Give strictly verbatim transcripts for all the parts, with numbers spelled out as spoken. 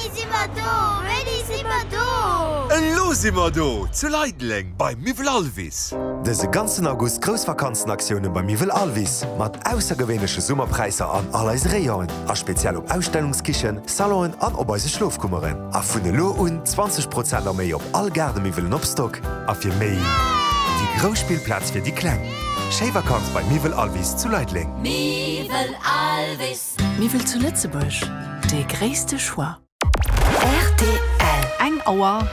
Wéini si mer do? Wéini si mer do? Elo si mer do! Zu Leideleng bei Miwwel Alvis! Dëse ganzen August grouss Vakanzenaktioune bei Miwwel Alvis mat aussergewéinleche Summerpräisser an all eise Rayonen a speziell op Ausstellungskichen, Salonen an op eise Schlofkummeren. A vun elo un zwanzeg Prozent a méi op all Gaardemiwwelen op Stock. A fir méi déi grouss Spillplaz fir déi Kleng. Schéi Vakanz bei Miwwel Alvis zu Leideleng. Miwwel Alvis. Miwwel zu Lëtzebuerg, dee gréisste Choix. Rtl. Eng Auer.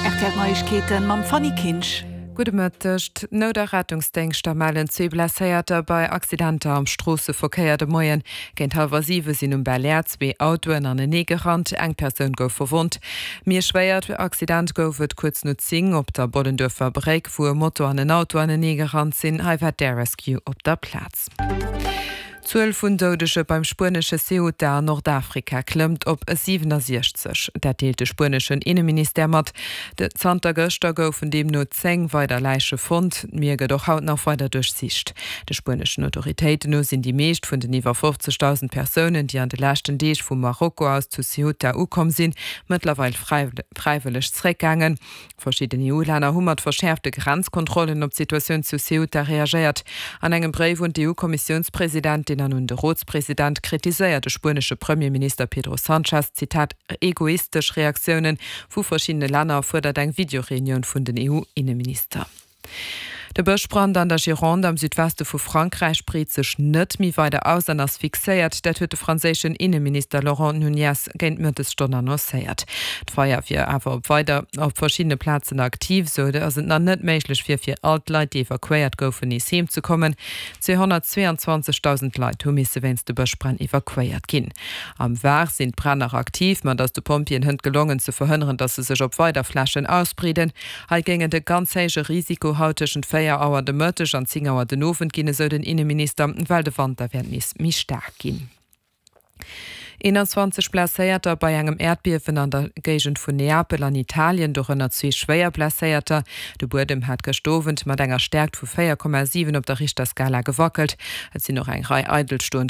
Rtl Neiegkeeten mam Fanny Kinsch. Gudde Mëtteg. D'Nout a Rettungsdéngschter mellen zwee Blesséierter bei Accidenter am Stroosseverkéier de Moien. Géint hallwer siwe sinn um Belair zwee Autoen anenee gerannt, eng Persoun gouf verwonnt. Méi e schwéiert Accident gouf et kuerz no zéng op der Bollenduerfer Bréck, wou e Moto an en Auto anenee gerannt sinn. Hei war d'Air Rescue op der Plaz. D'Zuel vun Doudege beim spuenesche Ceuta an Nordafrika klëmmt op siwenasiechzeg. Dat deelt de spueneschen Inneministère mat. Zanter gëschter goufen deemno zéng weider Läiche fonnt. D'Mier gëtt och haut nach weider duerchsicht. De spueneschen Autoritéiten no sinn déi meescht vun den iwwer fofzegdausend Persounen, déi an de leschten Deeg vu Marokko aus zu Ceuta ukomm sinn, mëttlerweil fräiwëlleg zeréckgaangen. Verschidden E U-Länner hu mat verschäerfte Grenzkontrollen op d'Situatioun zu Ceuta reagéiert. An engem Bréif un d'E U-Kommissiounspresidentin an un de Rotspresident kritiséiert de spuenesche Premierminister Pedro Sanchez, Zitat, egoistesch Reaktioune vu verschiddene Länner a fuerdert eng Videoreunioun vun den E U-Inneminister. De Bëschbrand an der Gironde am Südweste vu Frankräich breet sech net méi weider aus an ass fixéiert. Dat huet de franséischen Inneminister Laurent Nunez géint d'Mëttesstonn annoncéiert. D'Feier wier awer op weider op verschiddene Plazen aktiv, sou datt et nach net méiglech wier, fir all d'Leit, déi evakuéiert goufen, nees heem ze kommen. Zweehonnertzweeanzwanzegdausend Leit hu misse wéinst de Bëschbränn evakuéiert ginn. Am Var sinn d'Bränn nach aktiv, ma et ass de Pompjeeën hënt gelongen, ze verhënneren, datt se sech op weider Flächen ausbreeden. Hei géing et e ganz héije Risiko haut tëschent véier Auer de Mëtteg an zéng Auer den Owend ginn, esou den Inneminister, well de Wand da wäert nees méi staark ginn. Eenanzwanzeg Blesséierter bei engem Äerdbiewen an der Géigend vun Neapel an Italien, dorënner zwee schwéier Blesséierter. De Buedem hat gëscht Owend mat enger Stäerkt vu véier Komma siwen op der Richterskala gewackelt. Et sinn och eng Rei eidelstoend